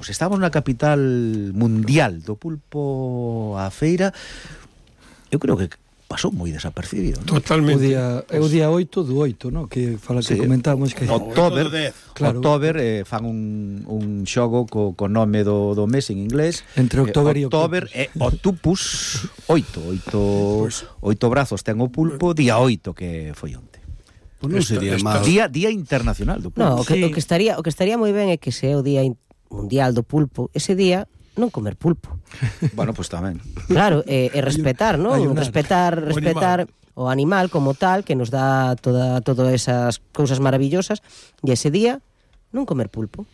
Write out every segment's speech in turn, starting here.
Pois estamos na capital mundial do pulpo á feira. Eu creo que pasou moi desapercibido, ¿no? Totalmente. É o día 8 do 8, ¿no? Que fala que comentamos que October, claro. October fan un xogo co nome do mes en inglés. Entre October e Octopus 8 brazos ten o pulpo, día 8 que foi onte. Pues non sería mal. Día internacional do pulpo. No, o que estaría moi ben é que se é o día mundial do pulpo, ese día non comer pulpo. Bueno, pois tamén. Claro, e respetar, non? Respetar o animal como tal, que nos dá todas esas cousas maravillosas, e ese día non comer pulpo.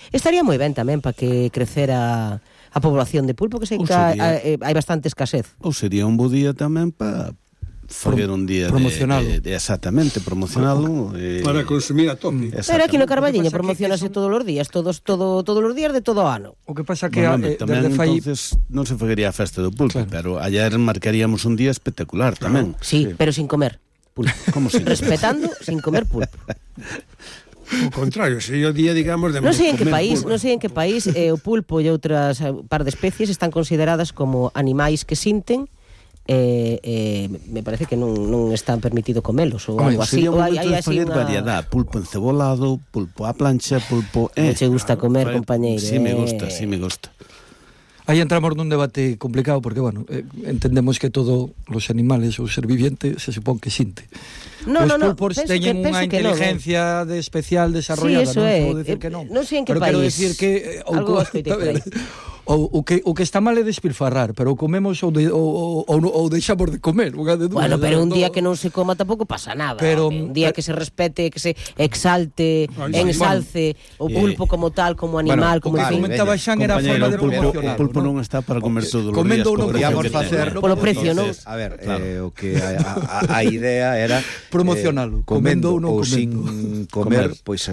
Estaría moi ben tamén para que crecera a población de pulpo, que sei que hai bastante escasez. Ou sería un bo día tamén para fazer un día promocionalo. Exactamente, promocionalo para consumir a tope. Pero aquí no Carballiño promocionase todos os días, todos os días de todo o ano. O que pasa que tamén entonces non se faría a festa do pulpo, claro. Pero ayer marcaríamos un día espectacular tamén. Sí, pero sin comer pulpo. Como sin respetando sin comer pulpo. O contrario, sería o día, digamos, de non sei en que país o pulpo e outras par de especies están consideradas como animais que sinten. Me parece que non están permitido comelos ou algo así. Ou hai así unha variedade, pulpo encebolado, pulpo á plancha, pulpo... che gusta comer, compañeiro. Sí, me gusta. Aí entramos nun debate complicado porque, bueno, entendemos que todos os animales ou ser viviente se supón que sinte. Os pulpos teñen unha inteligencia especial desarrollada, sí, non vou decir que non. Non sei en que pero país. Pero quero decir que algo escoitei por aí. O que está mal é despilfarrar, pero o comemos ou deixamos de comer. Bueno, pero un día que non se coma tampouco pasa nada. Pero un día que se respete, que se exalte, ensalce o pulpo como tal, como animal, como en fin. Comentaba Xan era a forma de promocionar. O pulpo non está para comer todos os días. Comendo ou non podíamos facer polo precio, non? A ver, o que a idea era promocionalo, comendo ou non sin comer, pois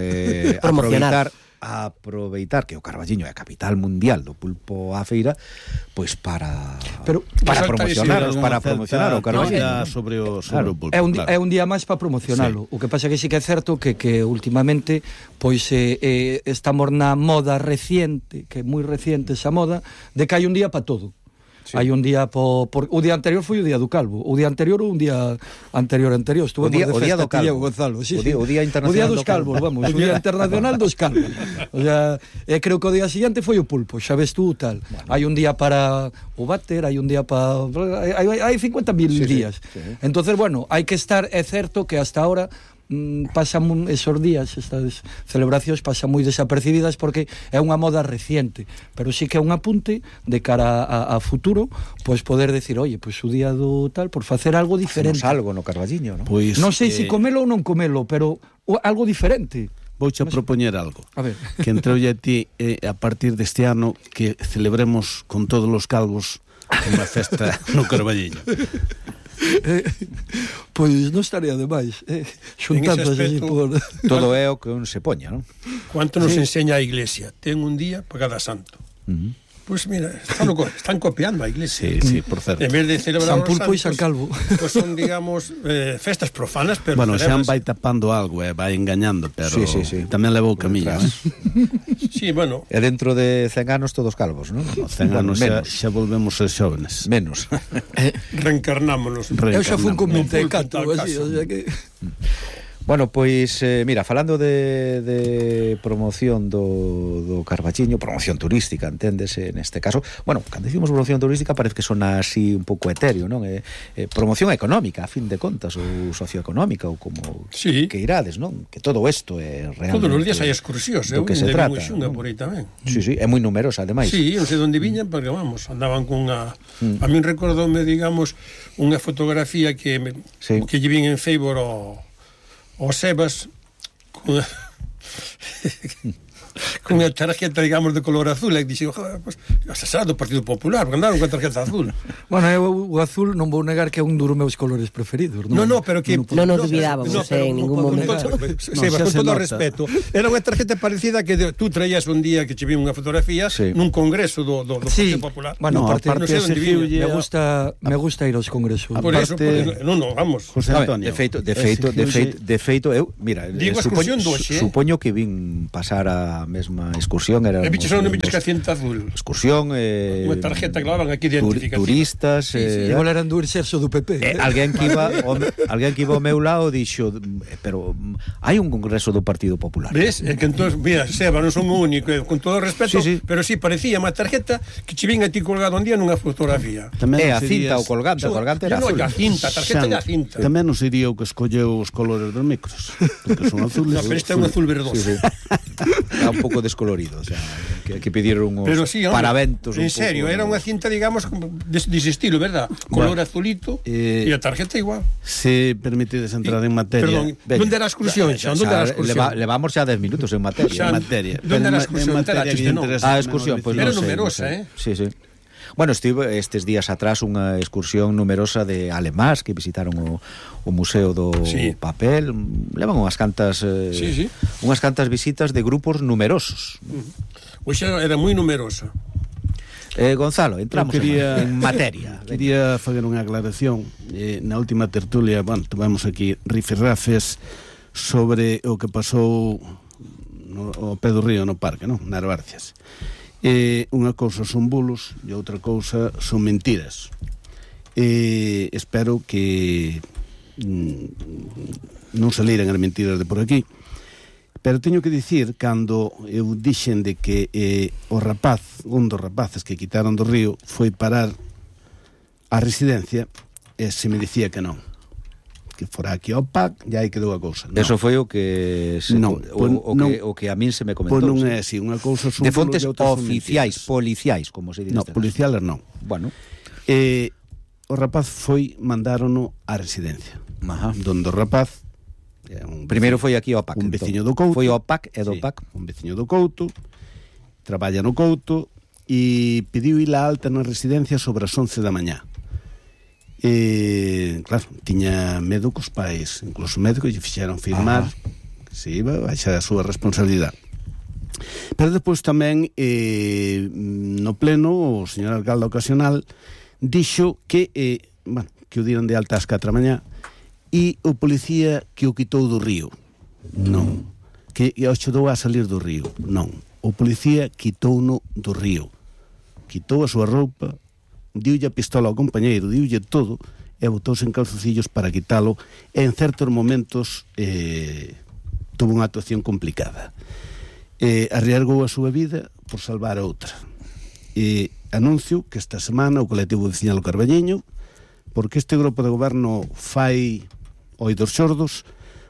aproveitar que o Carballiño é a capital mundial do pulpo á feira, pois para promocionar o Carballiño sobre o pulpo. É un día máis para promocionalo. O que pasa que sí que é certo que últimamente pois estamos na moda reciente, que é moi reciente esa moda, de que hai un día para todo. Sí. Hai un día o día anterior foi o día do calvo, o día anterior ou un día anterior o día do calvo, Gonzalo, sí, o día internacional, o día dos calvos, vamos, o día internacional dos calvos. O sea, creo que o día siguiente foi o pulpo, xa ves tú tal. Bueno. Hai un día para o váter, hai un día para hai 50.000 días. Sí. Entonces, bueno, hai que estar, é certo que hasta ahora pasan esos días, estas celebracións pasan moi desapercibidas porque é unha moda reciente, pero sí que é un apunte de cara a futuro, pois poder decir, oye, pois o día do tal, por facer algo diferente. Hacemos algo no Carballiño, ¿no? Pois, non sei se comelo ou non comelo, pero algo diferente. Vouche a propoñer algo. A ver. Que entre a ti a partir deste ano que celebremos con todos os calvos unha festa no Carballiño. Pois non estaría demais xuntándose así por... Todo é o que un se poña, non? Quanto nos enseña a Iglesia? Ten un día para cada santo. Pois mira, están copiando a Iglesia. Sí, por certo. En vez de celebrar San Pulpo e San Calvo. Pois son, digamos, festas profanas, pero... Bueno, Xan vai tapando algo, vai engañando, pero sí. Tamén levou camiño, Sí, bueno. E dentro de 100 anos todos calvos, non? 100 anos xa volvemos ser xóvenes. Menos. Reencarnámonos. Eu xa fui un convite de canto, así, o sea que... Bueno, pois, mira, falando de promoción do Carballiño, promoción turística, enténdese neste caso. Bueno, cando decimos promoción turística parece que sona así un pouco etéreo, non? Promoción económica, a fin de contas, ou socioeconómica, ou como que irades, non? Que todo isto é realmente... Todos os días hai excursións, do que se trata, xunga por aí tamén. Sí, é moi numerosa, ademais. Sí, non sei onde viñan, porque, vamos, andaban cunha... A min recordoume, digamos, unha fotografía que lle vin en Facebook o Sebas con a tarjeta, digamos, de color azul, e dixo, pues, será do Partido Popular, porque andaron con a tarjeta azul. Bueno, o azul non vou negar que é un dos meus colores preferidos. Non, pero que... Non nos dubidábamos en ningún momento. Sebas, con todo o respeto. Era unha tarjeta parecida que tú traías un día que che vi unha fotografía nun congreso do Partido Popular. Bueno, aparte me gusta ir aos congresos. Por eso, non, vamos. José Antonio. De feito, eu, mira, supoño que vin pasar a a mesma excursión. E biches non biches que a cinta azul. Excursión, unha tarjeta que lavan aquí identificativa. Turistas, igual eran do exerso do PP. Alguén que iba ao meu lado dixo, pero hai un congreso do Partido Popular. Ves? É que entón, mira, Seba, non son o único, con todo o respeto, pero sí, parecía unha tarjeta que che vinha a ti colgado un día nunha fotografía. A cinta, o colgante era azul. A cinta, a tarjeta e a cinta. Tamén non sería o que escolleu os colores dos micros, porque son azules. No, pero este é un azul verdoso. Está un pouco descolorido, o sea, que pidieron uns paraventos. En serio, era unha cinta, digamos, dese estilo, verdad? Color azulito e a tarjeta igual. Se permitides entrar en materia. Perdón, onde era a excursión? Levamos xa 10 minutos en materia. Onde era a excursión? A excursión, pois era numerosa, Sí. Bueno, estive estes días atrás unha excursión numerosa de alemás que visitaron o Museo do Papel. Levan unhas cantas visitas de grupos numerosos. Hoxe era moi numerosa. Gonzalo, entramos en materia. Quería fazer unha aclaración. Na última tertulia, tivemos aquí rifirrafes sobre o que pasou ao pé do río no parque, nas Barcias. Unha cousa son bulos e outra cousa son mentiras. Espero que non saliran as mentiras de por aquí, pero teño que dicir, cando eu dixen de que un dos rapaces que quitaron do río foi parar a residencia, se me dicía que non, que fora aquí ao PAC, e aí quedou a cousa. Eso foi o que o que a min se me comentou. Pois non é así, unha cousa son de fontes oficiais, policiais, como se dice. No, policiales non. Bueno, o rapaz mandárono á residencia. Donde o rapaz primeiro foi aquí ao PAC. Un veciño do Couto. Foi ao PAC e do PAC. Un veciño do Couto, traballa no Couto e pediu ir a alta na residencia sobre as 11 da mañá. Claro, tiña medo cos pais, incluso médicos lle fixeron firmar que se iba a baixar a súa responsabilidade. Pero depois tamén no pleno o señor alcalde ocasional dixo que que o dieron de alta ás 4 da mañá e o policía que o quitou do río. Non. Que o axudou a salir do río. Non. O policía quitouno do río. Quitou a súa roupa, diulle a pistola ao compañeiro, diulle todo e botouse en calzocillos para quitalo e en certos momentos tuvo unha actuación complicada. Arriesgou a súa vida por salvar a outra. Anuncio que esta semana o colectivo veciñal o Carballiño, porque este grupo de goberno fai oídos xordos,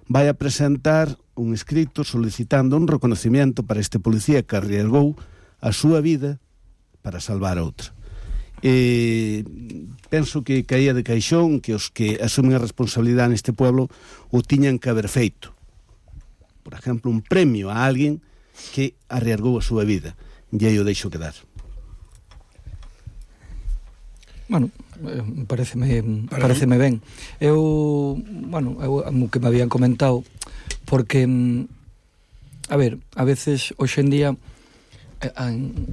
vai a presentar un escrito solicitando un reconocimiento para este policía que arriesgou a súa vida para salvar a outra. Penso que caía de caixón que os que asumen a responsabilidade neste pueblo o tiñan que haber feito. Por exemplo, un premio a alguén que arriesgou a súa vida, e aí o deixo quedar. Bueno, pareceme ben. Eu o que me habían comentado, porque a veces hoxe en día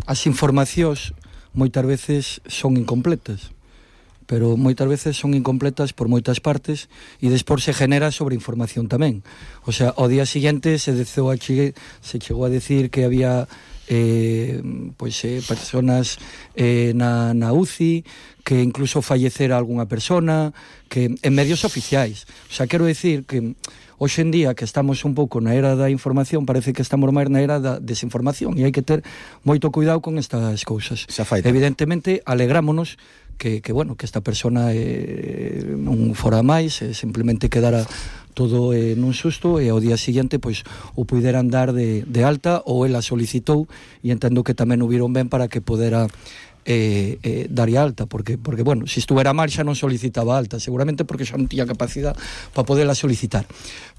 as informacións moitas veces son incompletas, pero moitas veces son incompletas por moitas partes e despois se genera sobreinformación tamén. O sea, ao día siguiente se chegou a decir que había personas na UCI, que incluso fallecera algunha persona, que en medios oficiais. O sea, quero decir que hoxe en día que estamos un pouco na era da información, parece que estamos máis na era da desinformación e hai que ter moito cuidado con estas cousas. Evidentemente, alegrámonos que esta persona non fora máis, simplemente quedara todo nun susto e ao día seguinte pois o puideran dar de alta ou ela solicitou e entendo que tamén o viron ben para que podera daría alta, porque se estuvera mal xa non solicitaba alta, seguramente porque xa non tiña capacidade para poderla solicitar.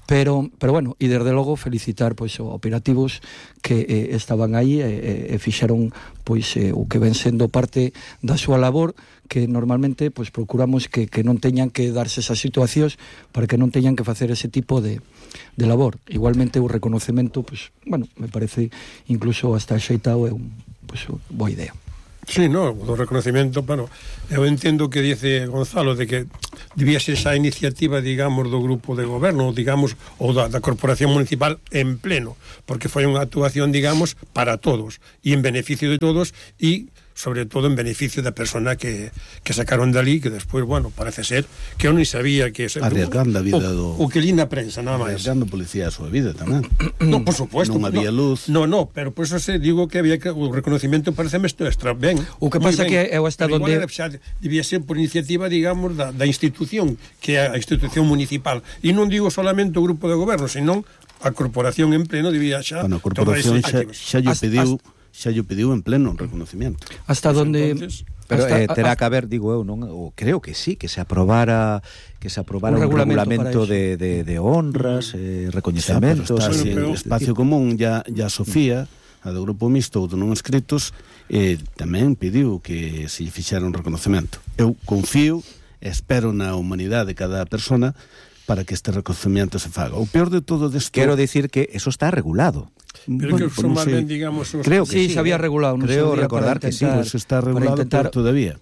Pero bueno, e desde logo felicitar pois os operativos que estaban aí e fixeron pois o que ven sendo parte da súa labor, que normalmente pois procuramos que non teñan que darse esas situacións para que non teñan que facer ese tipo de labor. Igualmente o reconocemento, pois, me parece incluso hasta axeitado é boa idea. Sí, no, do reconocimiento, bueno, eu entendo que dice Gonzalo de que debía ser esa iniciativa, digamos, do grupo de goberno, digamos, ou da corporación municipal en pleno, porque foi unha actuación, digamos, para todos, e en beneficio de todos, e sobre todo en beneficio da persona que sacaron dali, que despois, bueno, parece ser que eu non sabía que... Arriesgando a vida do... O que li na prensa, nada máis. Arriesgando a policía a súa vida tamén. No, por supuesto. Non había luz. No, pero por eso se digo que había que... O reconocimiento parece isto extra ben. O que pasa que eu hasta onde... Debía ser por iniciativa, digamos, da institución, que é a institución municipal. E non digo solamente o grupo de goberno, senón a corporación en pleno debía xa... Bueno, a corporación xa lle pediu en pleno reconocimiento. Hasta donde... Pero terá que haber, digo eu, non, ou creo que sí, que se aprobara un regulamento de honras, recoñecementos. Está así, en Espacio Común ya Sofía, a do Grupo Mixto ou do Non Escritos, tamén pediu que se lle fixera un reconocemento. Eu confío e espero na humanidade de cada persona para que este reconocemento se faga. O peor de todo desto... Quero dicir que eso está regulado. Pero que son máis ben, digamos... Creo que sí, se había regulado. Creo recordar que sí. Pues está regulado, peor todavía.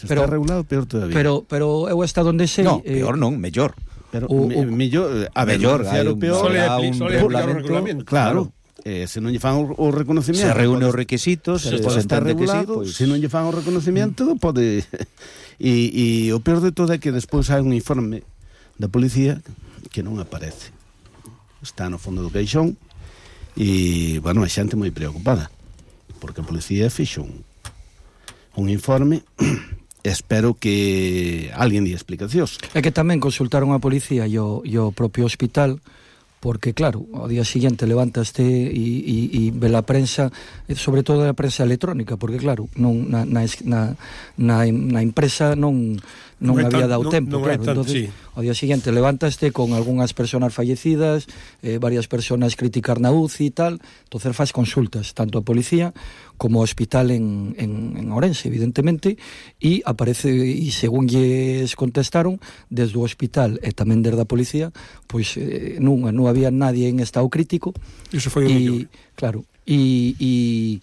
Está regulado, peor todavía. Pero eu hasta onde sei... No, peor non, mellor. Pero mellor, a mellor, hai un regulamento. Claro. Se non lle fan o reconocimiento, se reúne os requisitos, se está regulado, se non lle fan o reconocimiento, pode... E o peor de todo é que despois hai un informe da policía que non aparece. Está no fondo do caixón e, bueno, a xente moi preocupada porque a policía fixo un informe. Espero que alguén di explicacións. É que tamén consultaron a policía e o propio hospital, porque claro, ao día seguinte levantaste e ve a prensa, sobre todo a prensa electrónica, porque claro, non na impresa non había dado tempo, claro. Entonces, ao día seguinte levantaste con algunhas persoas fallecidas, varias persoas criticar na UCI e tal, entonces faz consultas tanto a policía como ao hospital en Ourense, evidentemente, e aparece, e según lles contestaron desde o hospital e tamén desde a policía, pois non había nadie en estado crítico. Iso foi o mellor. Claro, e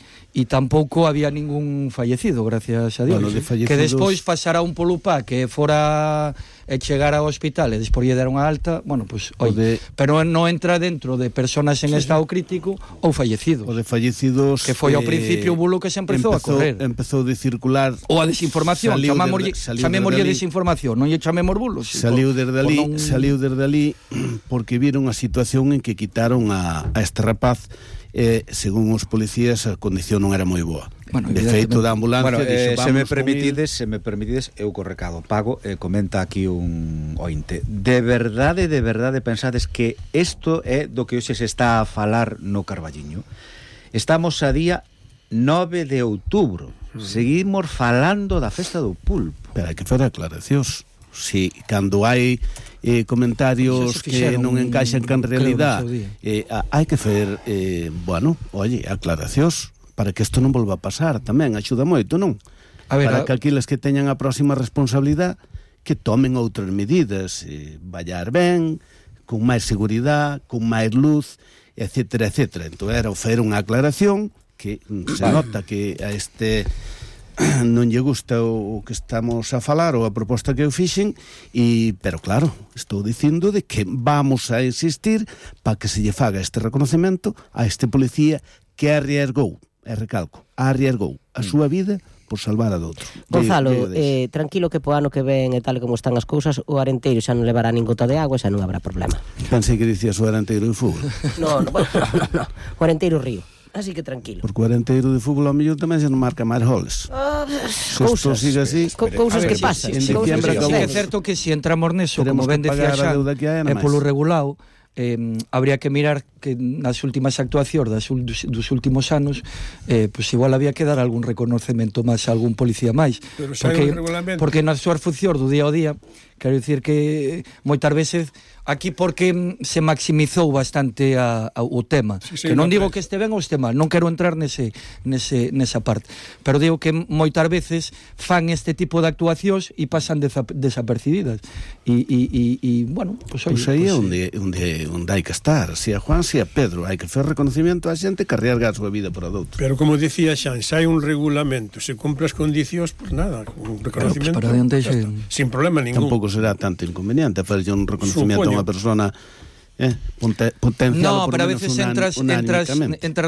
tampouco había ningún fallecido, gracias a Dios. Bueno, que despois pasara un polupá que fora e chegara ao hospital e despois lle deron a alta, bueno, pues, pero non entra dentro de personas en estado crítico ou fallecidos. O de fallecidos que foi ao principio o bulo que se empezou a correr. Empezou de circular ou a desinformación, chamémoslle desinformación, non lle chamemos bulos. Saliu desde ali porque viron a situación en que quitaron a este rapaz. Según os policías a condición non era moi boa. Bueno, de feito da ambulancia dixo, se me permitides eu co recado pago, comenta aquí un ointe. De verdade pensades que isto é do que hoxe se está a falar no Carballiño? Estamos a día 9 de outubro. Seguimos falando da festa do pulpo. Pero hai que fer aclaracións. Si, cando hai comentarios que non encaixan can realidade, hai que fer aclaracións para que isto non volva a pasar. Tamén axuda moito, non? Para que aqueles que teñan a próxima responsabilidade que tomen outras medidas, vallar ben, con máis seguridade, con máis luz, etcétera, etcétera. Entón era fer unha aclaración que se nota que a este non lle gusta o que estamos a falar ou a proposta que eu fixen, pero claro, estou dicindo de que vamos a insistir para que se lle faga este reconocemento a este policía que arriesgou a súa vida por salvar a doutro. Gonzalo, tranquilo que po ano que ven e tal como están as cousas, o Arenteiro xa non levará nin gota de agua e xa non habrá problema. Pensei que dicías o Arenteiro de fútbol. No, o Arenteiro río. Así que tranquilo. Porque o Arenteiro de fútbol ao mellor tamén se non marca máis goles. Cousas que pasan. É certo que se entramos neso, como ben decía xa, é polo regulado, habría que mirar que nas últimas actuacións dos últimos anos pues igual había que dar algún reconocemento máis a algún policía máis, porque nas súas funcións do día ao día, quero dicir que moitas veces aquí porque se maximizou bastante o tema, que non digo que este ben ou este mal, non quero entrar nesa parte, pero digo que moitas veces fan este tipo de actuacións e pasan desapercibidas e bueno, pues aí é onde hai que estar. Si a Juan decía Pedro, hai que fer reconocimiento a xente que arriesga a súa vida por a doutro. Pero como dicía Xan, se hai un regulamento, se cumpre as condicións, pues nada, un reconocimiento para adiante ya está, sin problema ningún. Tampouco será tanto inconveniente facerlle un reconocimiento Supoño. a unha persona potenciado No, por pero a menos veces entras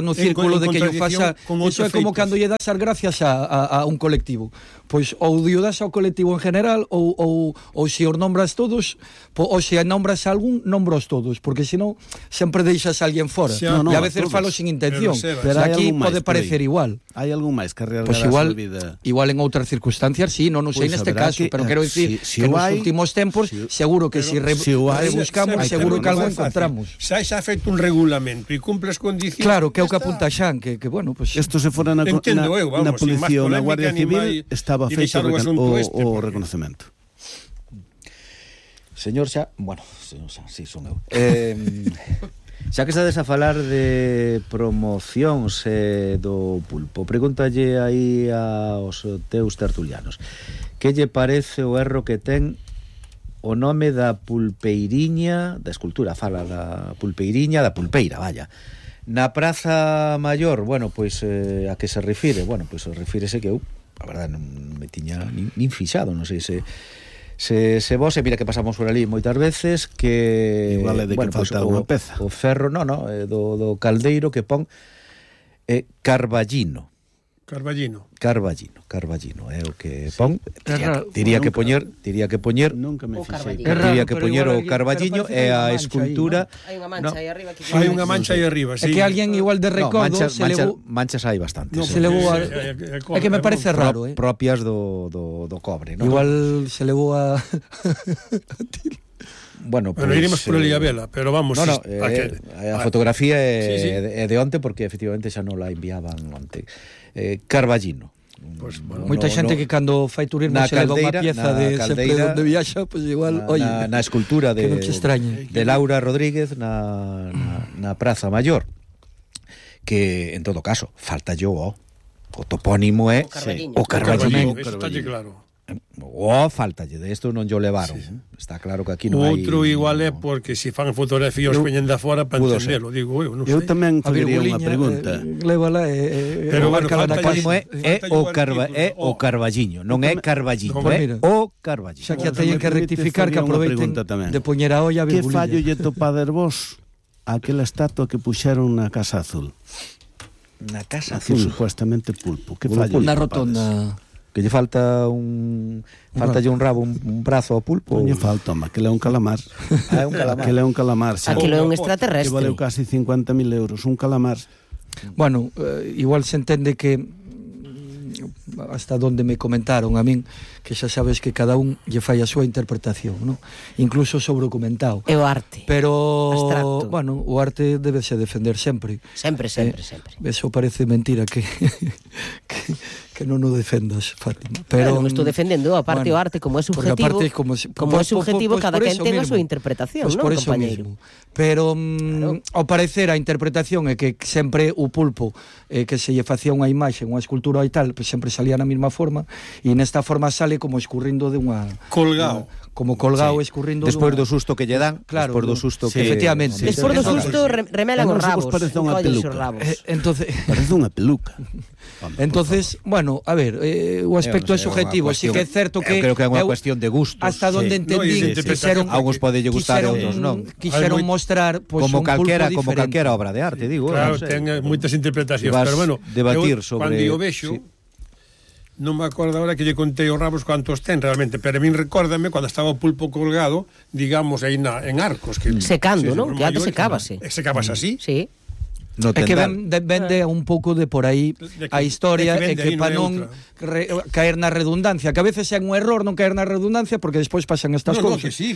no círculo de que yo faxa. Iso é como cando lle das as gracias a un colectivo. Pois ou dio das ao colectivo en general ou se os nombras todos, ou se nombras a algún, nombros todos, porque senón sempre deixas a alguén fora. E a veces falo sin intención. Pero aquí pode parecer igual. Hai algún máis que arriesgar Pois a igual, súa vida. igual en outras circunstancias, sí, non sei neste caso, pero quero dicir que nos últimos tempos seguro que se rebuscamos, seguro que algo encontramos. Se hai xa feito un regulamento e cumple as condicións. Claro, que é o que apunta Xan, que bueno, pues Isto se fora na policía ou na Guardia Civil estaba feito o reconocemento. Señor Xa, bueno, señor Xa, sí, son eu. Xa que estades a falar de promocións do pulpo, pregúntalle aí aos teus tertulianos que lle parece o erro que ten o nome da pulpeiriña, da escultura, fala da pulpeiriña, da pulpeira, vaya, na Praza Maior. Bueno, pois a que se refire? Bueno, pois refírese que eu, a verdade, non me tiña nin fixado, non sei se vos, mira que pasamos por ali moitas veces, que igual é de que falta unha peza. O ferro, do caldeiro que pon Carballino, é o que pon. Diría que poñer nunca me fixei. Diría que poñer o Carballiño e a escultura. Hai unha mancha aí arriba. Hai unha mancha aí arriba, sí. É que alguén igual de recordo manchas hai bastantes. Se levou é que me parece raro, propias do cobre, non? Igual se levou a Bueno, pues, iremos por ali a vela, pero vamos. A fotografía é de onte, porque efectivamente xa non la enviaban onte. Carballino. Pues, bueno, moita xente que cando fai turismo se leva unha pieza de sempre onde viaxa, pues igual, na escultura de Laura Rodríguez na Praza Maior, que en todo caso falta o topónimo é o Carballino. Eso está claro. Faltalle, de isto non yo levaron. Está claro que aquí non hai. Outro igual é porque se fan fotografías veñen da fora para entendelo, digo eu, non sei. Eu tamén faría unha pregunta. Lévala pero bueno, é o Carballiño, non é Carballino, é o Carballino. Xa que a teñen que rectificar, que aproveiten de poñer a olla a virgulilla. Que fallo lle topader vos aquela estatua que puxeron na Casa Azul? Na Casa Azul? Supuestamente pulpo. Que fallo? Na rotonda. Que lle falta un rabo, un brazo ao pulpo. Non lle falta, que le é un calamar. É un calamar. Que le é un calamar. Aquilo é un extraterrestre. Que valeu casi 50.000 euros, un calamar. Bueno, igual se entende que hasta donde me comentaron a min, que xa sabes que cada un lle fai a súa interpretación, ¿no? Incluso sobre o comentado. É o arte. Pero, abstracto. Bueno, o arte debese defender sempre. Sempre. Eso parece mentira que non o defendas, Fátima. Pero non estou defendendo, aparte o arte como é subjetivo, cada quen ten a súa interpretación, non, compañeiro? Pero ao parecer a interpretación é que sempre o pulpo que se lle facía unha imaxe, unha escultura e tal, pues sempre salía na mesma forma, e nesta forma sale como escurrindo de unha colgado. Como colgado, escurrindo despois do susto que lle dan, claro, despois do susto que efectivamente. Despois do susto remelan os rabos. Parece unha peluca. Entonces parece unha peluca. Entonces, bueno, a ver, o aspecto é subjetivo, si que é certo que creo que é unha cuestión de gustos. Hasta donde entendí, algúns podelle gustar e outros non. Quixeron mostrar como calquera obra de arte, digo. Claro, ten moitas interpretacións, pero bueno, debatir sobre cando o vexo non me acordo agora que lle contei os rabos cuantos ten realmente, pero a min recórdame cando estaba o pulpo colgado, digamos, aí en Arcos, que secando, non? Que antes secábase. Secábase así? Sí. No é que vende un pouco de por aí a historia e que para non caer na redundancia, que a veces é un error non caer na redundancia porque despois pasan estas cousas. E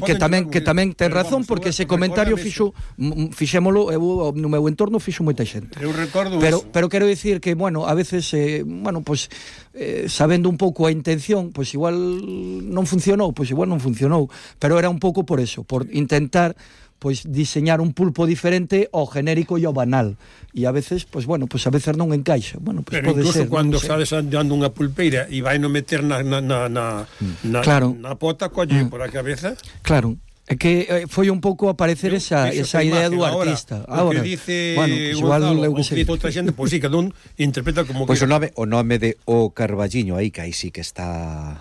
que tamén ten razón porque ese comentario fixémolo no meu entorno fixo moita xente. Eu recordo pero quero dicir que, bueno, a veces sabendo un pouco a intención, pois igual non funcionou, pero era un pouco por eso, por intentar pois diseñar un pulpo diferente ao genérico e ao banal. E a veces, pois bueno, pois a veces non encaixa. Bueno, pois pero pode incluso ser, cando estades andando unha pulpeira e vai no meter na claro. na pota, colle por a cabeza. Claro. É que foi un pouco aparecer esa idea do artista. O que dice Gonzalo, o que dice outra xente, pois sí, cada un interpreta como Pois que... o nome de O Carballiño, aí que aí sí que está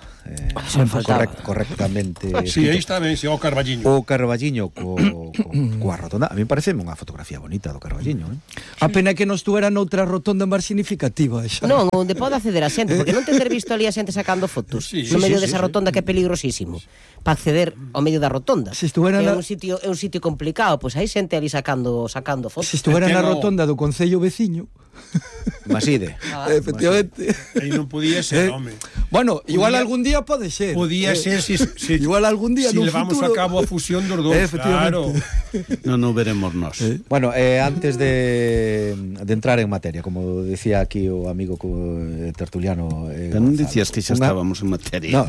correctamente. Sí, aí está ben, sí, O Carballiño. O Carballiño coa rotonda. A mí parece unha fotografía bonita do Carballiño, A pena que non estuera noutra rotonda máis significativa esa. Non, onde pode acceder a xente, porque non ter visto ali a xente sacando fotos no medio desa rotonda que é peligrosísimo para acceder ao medio da rotonda. Se estuvera é un sitio complicado, pois hai xente ali sacando fotos. Se estuvera na rotonda do concello veciño. Maside. Efectivamente. Aí non podía ser, home. Bueno, igual algún día pode ser. Podía ser si igual algún día si no levamos futuro. a cabo a fusión dos dous, claro. Non veremos nós. Bueno, antes de entrar en materia, como decía aquí o amigo tertuliano Pero non dicías que xa estábamos en materia. No,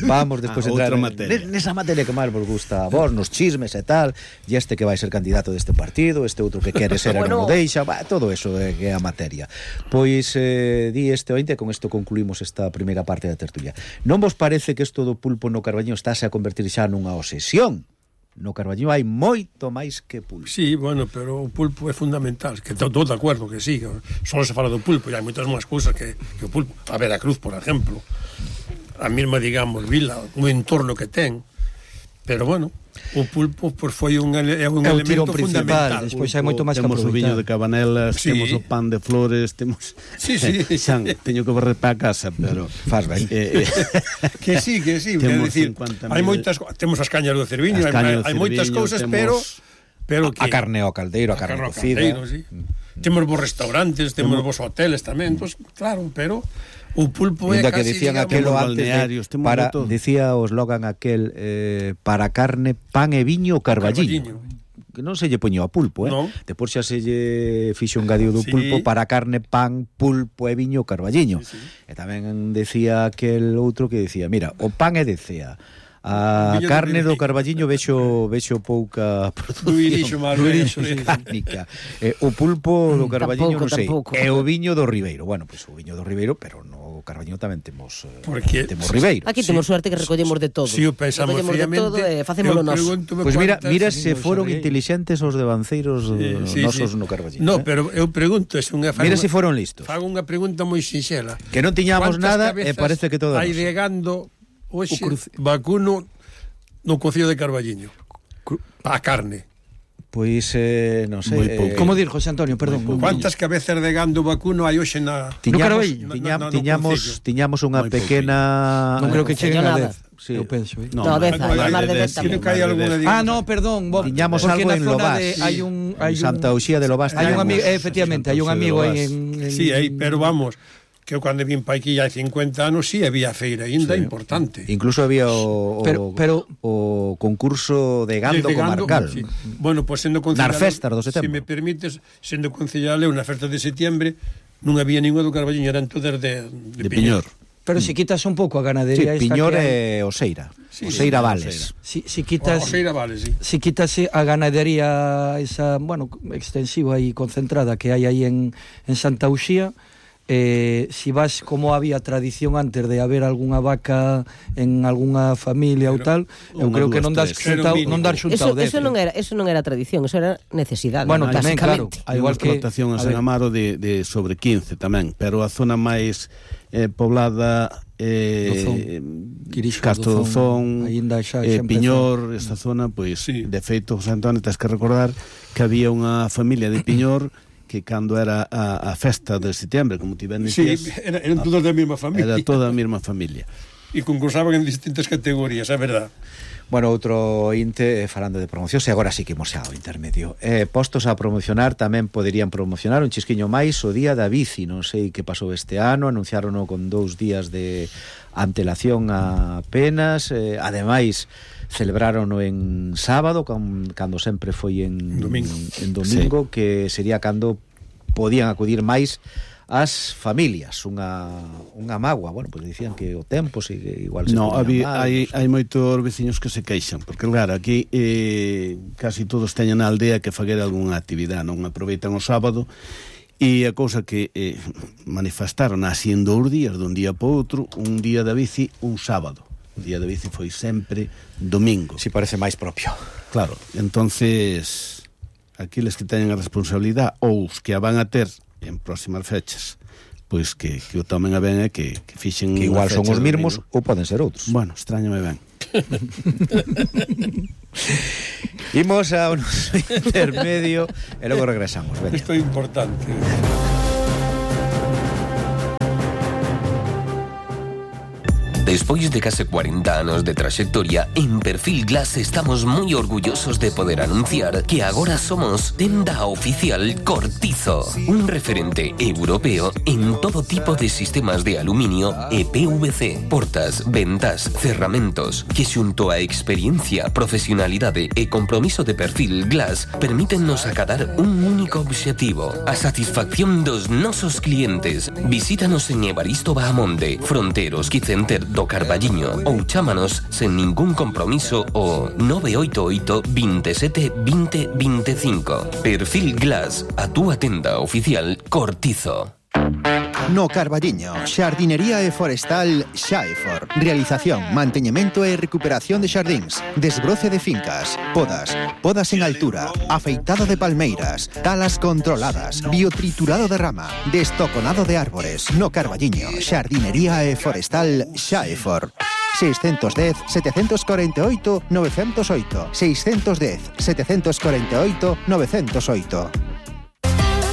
vamos despois entrar nesa materia que máis vos gusta a vos, nos chismes e tal, e este que vai ser candidato deste partido, este outro que quere ser e non o deixa, todo eso que é a materia. Pois di este ointe, con isto concluímos esta primeira parte da tertulia. Non vos parece que isto do pulpo no Carballiño estáse a convertir xa nunha obsesión? No Carballiño hai moito máis que pulpo. Sí, bueno, pero o pulpo é fundamental, que estou de acordo que sí, que só se fala do pulpo, e hai moitas máis cousas que o pulpo. A Veracruz, por exemplo, a mesma, digamos, vila, o entorno que ten, pero bueno, o pulpo pues, foi un elemento fundamental. Despois hai moito máis que temos o viño de Cabanelas, sí. Temos o pan de flores, temos... Sí. Xan, teño que barrer para casa, pero... Faz ben. Que sí, temos decir, hai moitas, temos as cañas do Cerviño, hai moitas cousas, temos... pero que a carne ao caldeiro, a carne cocida. Sí. Temos vos restaurantes, temos vos hoteles tamén, pues, claro, pero o pulpo é casi, que digamos, decían aquelo antes para, decía o eslogan aquel para carne, pan e viño Carballiño. Que non se lle poño a pulpo, no. Depois xa se lle fixo un gadío do pulpo para carne, pan, pulpo e viño Carballiño. Sí. E tamén decía aquel outro que decía, mira, o pan é de Cea, a carne do Carballiño vexo pouca produción mecánica. O pulpo do Carballiño non sei, e o viño do Ribeiro. Bueno, pois o viño do Ribeiro, pero no Carballiño tamén temos Ribeiro. Aquí temos suerte que recollemos de todo. Si o pensamos fríamente, facémolo nós. Pois mira se foron inteligentes os devanceiros nosos no Carballiño. No, pero eu pregunto, mira se foron listos. Fago unha pregunta moi sinxela. Que non tiñamos nada e parece que todo hai degando hoxe vacuno no Concello de Carballiño a carne. Pois non sei. Como dir, José Antonio, perdón. Quantas cabezas de gando vacuno hai hoxe na tiñamos unha pequena... Non creo que cheguen a 10. Sí. Eu penso, No, 10, máis de 10 tamén. No, perdón. Tiñamos algo en Lobás. Hai Santa Uxía de Lobás. Hai un amigo, efectivamente, hai un amigo aí en... Sí, aí, pero vamos... que eu cando vim pa aquí hai 50 anos sí había feira ainda importante. Incluso había o concurso de gando comarcal. Sí. Bueno, pois sendo concejal... Nas festas do setembro. Se me permites, sendo concejal eu na festa de setembro non había ningún do Carballiño, eran todas de Piñor. Pero se quitas un pouco a ganadería esta Piñor e Oseira. Oseira Vales. Si quitas Oseira Vales, sí. Si quitas a ganadería esa, bueno, extensiva e concentrada que hai aí en Santa Uxía, si vas como había tradición antes de haber algunha vaca en algunha familia ou tal, eu creo que non dar xuntado 10. Eso non era tradición, eso era necesidade. Bueno, tamén, claro. Hai unha explotación en San Amaro de sobre 15 tamén, pero a zona máis poblada Castro Dozón, Piñor, esta zona, pois de feito, José Antonio, tens que recordar que había unha familia de Piñor que cando era a festa de setembro, como ti ben dicías... Sí, eran todos da mesma familia. Era toda a mesma familia. E concursaban en distintas categorías, é verdad. Bueno, outro inte, falando de promoción, e agora sí que imos ao intermedio. Postos a promocionar, tamén poderían promocionar un chisquiño máis o Día da Bici. Non sei que pasou este ano, anunciárono con 2 días de antelación apenas. Ademais, celebrarono en sábado, cando sempre foi en domingo, que sería cando podían acudir máis as familias, unha mágoa. Bueno, pois dicían que o tempo igual se hai moitos veciños que se queixan, porque claro, aquí casi todos teñen na aldea que faguer algunha actividade, non aproveitan o sábado. E a cousa que manifestaron así en 2 días, dun día para outro, un día da bici, un sábado. O día da bici foi sempre domingo. Si parece máis propio. Claro, entonces aqueles que teñen a responsabilidade ou os que a van a ter en próximas fechas, pois que o tomen a ben e que fixen que igual son os mesmos ou poden ser outros. Bueno, extrañame ben. Imos a un intermedio e logo regresamos. Veña. Isto é importante. Despois de case 40 anos de traxectoria, en Perfil Glass estamos moi orgullosos de poder anunciar que agora somos tenda oficial Cortizo, un referente europeo en todo tipo de sistemas de aluminio e PVC, portas, ventas, cerramentos, que xunto a experiencia, profesionalidade e compromiso de Perfil Glass permítennos acadar un único obxectivo, a satisfacción dos nosos clientes. Visítanos en Evaristo Bahamonde, Fronteros Quicenter do Carballiño ou chámanos sen ningún compromiso o 988 27 20 25. Perfil Glass, a túa tenda oficial Cortizo. No Carballiño, xardinería e forestal Xaefor. Realización, manteñemento e recuperación de xardíns, desbroce de fincas, podas en altura, afeitado de palmeiras, talas controladas, biotriturado de rama, destoconado de árbores. No Carballiño, xardinería e forestal Xaefor. 610 748 908 610 748 908.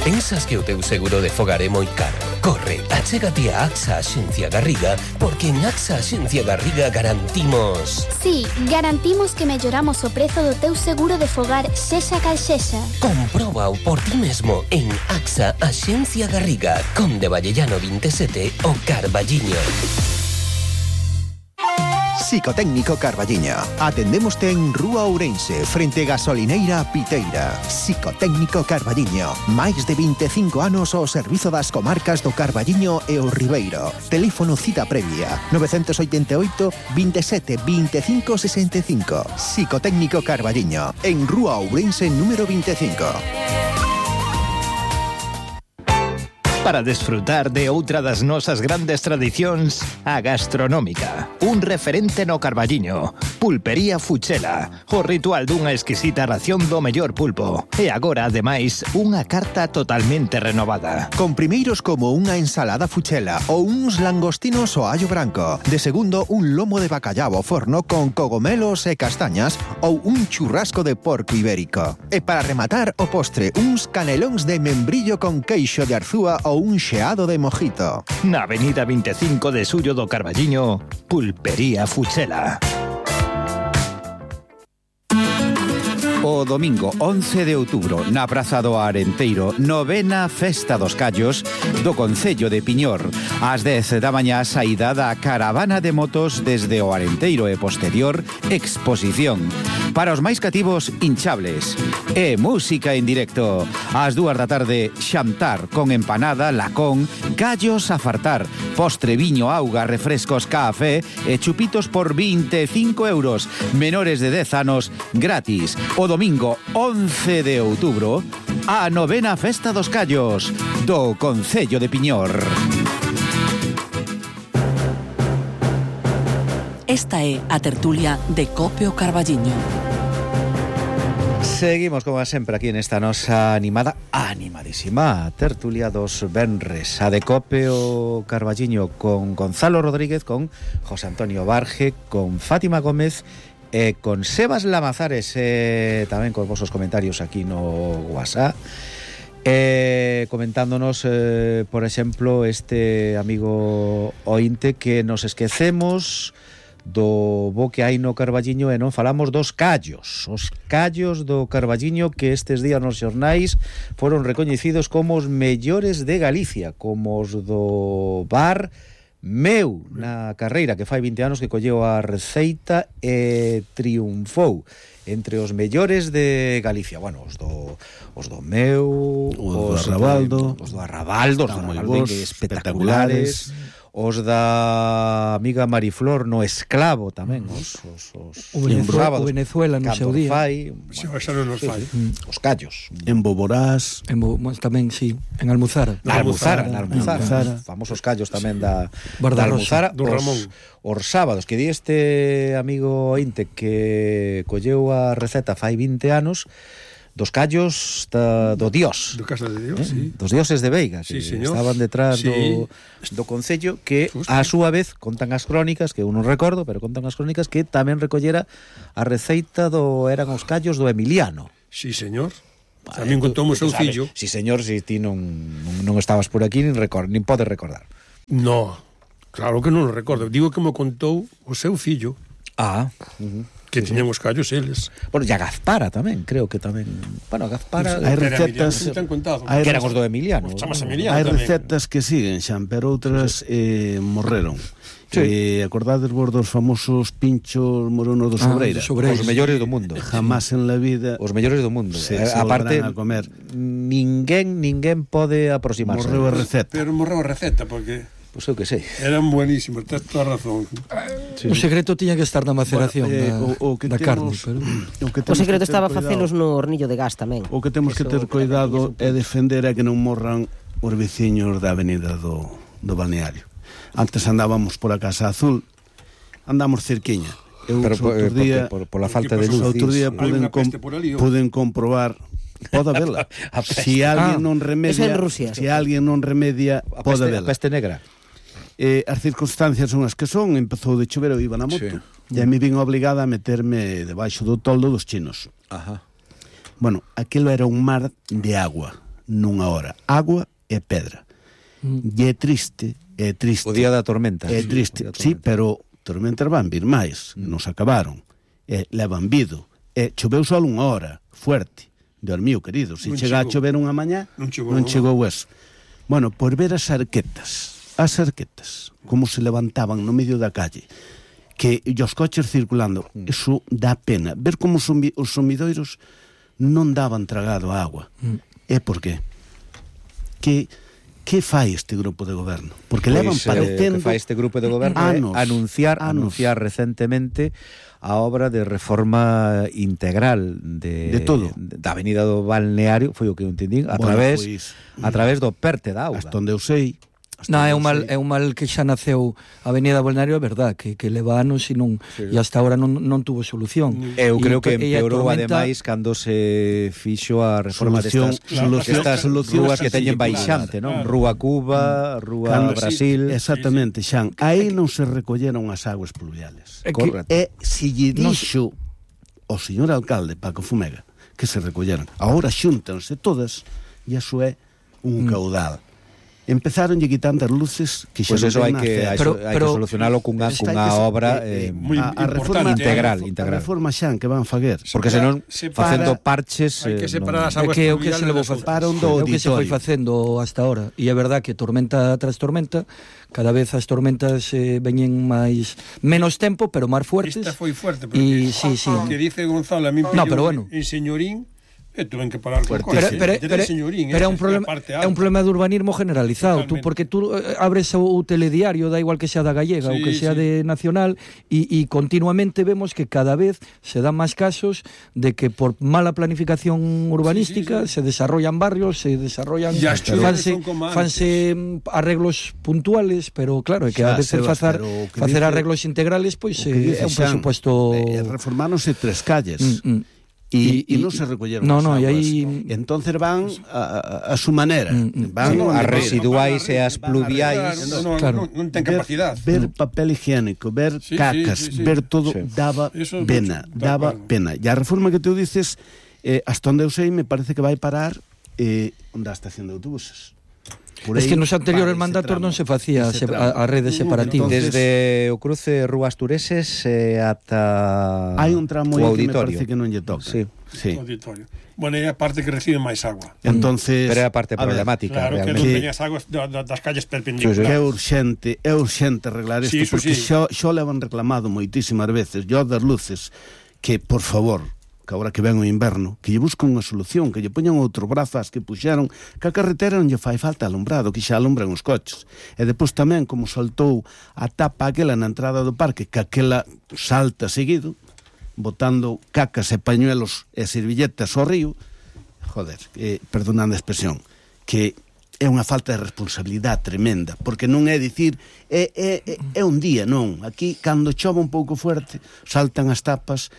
Pensas que o teu seguro de fogar é moi caro? Corre, achégate a AXA Axencia Garriga, porque en AXA Axencia Garriga garantimos... Sí, garantimos que melloramos o prezo do teu seguro de fogar sexa cal sexa. Compróbao por ti mesmo en AXA Axencia Garriga, Conde Vallellano 27, o Carballiño. Psicotécnico Carballiño. Atendémoste en Rúa Ourense, frente Gasolineira Piteira. Psicotécnico Carballiño. Máis de 25 anos ao servizo das comarcas do Carballiño e o Ribeiro. Teléfono cita previa 988 27 25 65. Psicotécnico Carballiño. En Rúa Ourense número 25. Para desfrutar de outra das nosas grandes tradicións, a gastronómica. Un referente no Carballiño. Pulpería Fuchela. O ritual dunha exquisita ración do mellor pulpo. E agora, ademais, unha carta totalmente renovada. Con primeiros como unha ensalada fuchela ou uns langostinos ao allo branco. De segundo, un lomo de bacallao ao forno con cogomelos e castañas ou un churrasco de porco ibérico. E para rematar o postre, uns canelóns de membrillo con queixo de arzúa ou un xeado de mojito. Na avenida 25 de Suyo do Carballiño, Pulpería Fuchela. O domingo 11 de outubro, na Praza do Arenteiro, novena Festa dos Callos do Concello de Piñor. Ás 10 da mañá, saída da caravana de motos desde o Arenteiro e posterior exposición. Para os máis cativos, hinchables. E música en directo. Ás 2 da tarde, xantar con empanada, lacón, callos a fartar, postre, viño, auga, refrescos, café e chupitos por 25 euros. Menores de 10 anos, gratis. O domingo 11 de outubro, a novena Festa dos Callos do Concello de Piñor. Esta é a tertulia de Cope o Carballiño. Seguimos, como sempre, aquí nesta nosa animadísima tertulia dos venres. A de Cope o Carballiño con Gonzalo Rodríguez, con José Antonio Barge, con Fátima Gómez e con Sebas Lamazares, tamén con vosos comentarios aquí no WhatsApp, comentándonos, por exemplo, este amigo ointe que nos esquecemos do bo que hai no Carballiño e non falamos dos callos. Os callos do Carballiño que estes días nos xornais foron recoñecidos como os mellores de Galicia, como os do bar Meu, na carreira que fai 20 anos que colleu a receita e triunfou entre os mellores de Galicia. Bueno, os do Meu, os do Arrabaldo, os do Arrabaldo, espectaculares. os da amiga Mariflor no Esclavo tamén, os sábados, Venezuela no seu día. Os callos. En Boborás. Tamén, sí, en Almuzara. Na Almuzara. Famosos callos tamén da Almuzara. Os sábados, que di este amigo Inte que colleu a receta fai 20 anos dos callos do Dios. Do Casa de Dios, sí. Dos dioses de Veiga, que estaban detrás do concello, que a súa vez contan as crónicas, que eu non recordo, pero contan as crónicas que tamén recollera a receita eran os callos do Emiliano. Sí, señor. Tamén contou o seu fillo. Sí, señor, si ti non estabas por aquí nin podes recordar. No, claro que non o recordo. Digo que me contou o seu fillo. Que tiñan os callos eles. Bueno, e a Gazpara tamén, creo que tamén. Bueno, a Gazpara hai recetas que eran os do Emiliano. Hai recetas que siguen, xan, pero outras morreron. Acordades vos dos famosos pinchos moronos do Sobreira? Os mellores do mundo. Jamás en la vida. Os mellores do mundo. Aparte, a comer. Ninguén pode aproximarse. Morreu a receta. Pero morreu a receta, porque Pois eu que sei. Eran buenísimos, tens toda a razón. O secreto tiña que estar na maceración da carne. O secreto estaba facelos no hornillo de gas tamén. O que temos que ter cuidado é defender a que non morran os veciños da avenida do balneario. Antes andábamos por a Casa Azul, andamos cerquiña. Pero por la falta de luz. Outro día poden comprobar. Pode vela. Si alguén non remedia, pode vela. A peste negra. As circunstancias son as que son. Empezou de chover, eu iba na moto, e a mí vin obligada a meterme debaixo do toldo dos chinos. Bueno, aquilo era un mar de agua nunha hora. Agua e pedra. E é triste. O día da tormenta. É triste, sí, pero tormentas van vir máis. Nos acabaron. Levan vido. Choveu só unha hora, fuerte. Dormiu, querido, se chega a chover unha mañá non chegou eso. Bueno, por ver as arquetas como se levantaban no medio da calle, que os coches circulando, eso dá pena. Ver como os sumidoiros non daban tragado a agua. É por qué? Que fai este grupo de goberno? Porque levan padecendo que fai este grupo de goberno anunciar recentemente a obra de reforma integral de todo da avenida do balneario, foi o que eu entendín, a través do perte da auga. Hasta onde eu sei. Non, é un mal que xa naceu a avenida do balneario, é verdad, que leva anos e hasta ahora non tuvo solución. Eu creo que empeorou ademais cando se fixo a reforma destas rúas que teñen baixante, non? Rúa Cuba, Rúa Brasil. Exactamente, Xan. Aí non se recolleron as aguas pluviales. E se lle dixo o señor alcalde Paco Fumega que se recolleron. Agora xúntanse todas e iso é un caudal. Empezaronlle quitando as luces que xa eso hai que solucionalo cunha obra integral. A reforma Xan que van faguer, porque senón facendo parches hai que separar as aguas pluviales. O que se foi facendo hasta ahora, e é verdad que tormenta tras tormenta cada vez as tormentas veñen menos tempo, pero máis fuertes. Esta foi fuerte, porque que dice Gonzalo, a mí en Señorín tuven que parar con coche. Pero é un problema de urbanismo generalizado. Porque tú abres o telediario, da igual que sea da gallega ou que sea de nacional, e continuamente vemos que cada vez se dan máis casos de que por mala planificación urbanística se desarrollan barrios, se desarrollan fanse arreglos puntuales, pero claro, é que a veces facer arreglos integrales é un presupuesto. Reformáronse 3 calles. E non se recolleron as aguas. Entonces van a su manera. Van as residuais e as pluviais. Non ten capacidade. Ver papel higiénico, ver cacas, ver todo, daba pena. E a reforma que tú dices, hasta onde eu sei, me parece que vai parar onde a estación de autobuses. Es que nos anteriores mandatos non se facía a rede separativa. Desde o cruce Rúas Tureses ata hai un tramo aí que me parece que non lle toca. Sí. Auditorio. Bueno, é a parte que recibe máis agua. Entonces, pero é a parte problemática. Claro, que non teñas aguas das calles perpendiculares. É urxente arreglar isto, porque xo levan reclamado moitísimas veces, yo das luces, que, por favor, que agora que ven o inverno, que lle buscan unha solución, que lle poñan outro brazo ás que puxeron, que a carretera non lle fai falta alumbrado, que xa alumbran os coches. E depois tamén, como saltou a tapa aquela na entrada do parque, que aquela salta seguido, botando cacas e pañuelos e servilletas ao río, joder, perdonando a expresión, que é unha falta de responsabilidade tremenda, porque non é dicir é un día, non. Aquí, cando chove un pouco fuerte, saltan as tapas,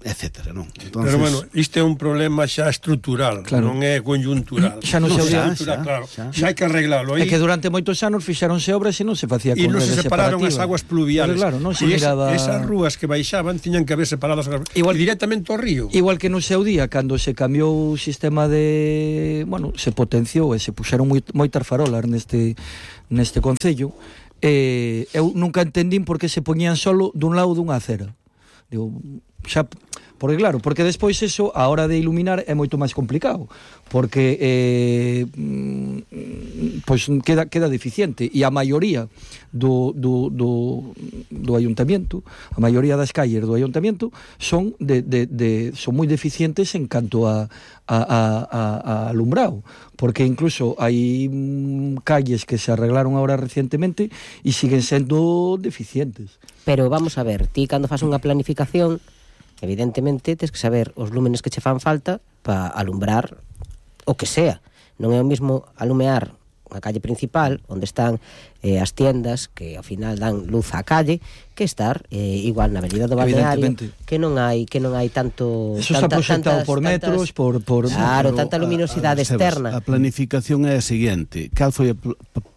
etcétera, non? Entonces, pero, bueno, isto é un problema xa estrutural, claro, non é conjuntural. Xa non se xa hai que arreglalo. É que durante moitos anos fixáronse obras e non se facía con rede separativa. E non se separaron as aguas pluviales. Claro, non se miraba... Esas rúas que baixaban tiñan que haber separadas directamente ao río. Igual que no seu día, cando se cambiou o sistema de... Bueno, se potenciou e se puxeron moitas farolas neste concello, eu nunca entendín por que se poñían solo dun lado dunha acera. Digo, xa, porque claro, porque despois eso a hora de iluminar é moito máis complicado, porque pois queda deficiente, e a maioría do ayuntamiento, a maioría das calles do ayuntamiento son son moi deficientes en canto a alumbrado, porque incluso hai calles que se arreglaron agora recientemente e siguen sendo deficientes. Pero vamos a ver, ti cando fas unha planificación, evidentemente tens que saber os lúmenes que che fan falta para alumbrar o que sea. Non é o mesmo alumear a calle principal, onde están as tiendas que ao final dan luz á calle, que estar igual na avenida do Balneario, que non hai tanto... Eso está proxectado por metros, por claro, tanta luminosidade externa. A planificación é a seguinte. Cal foi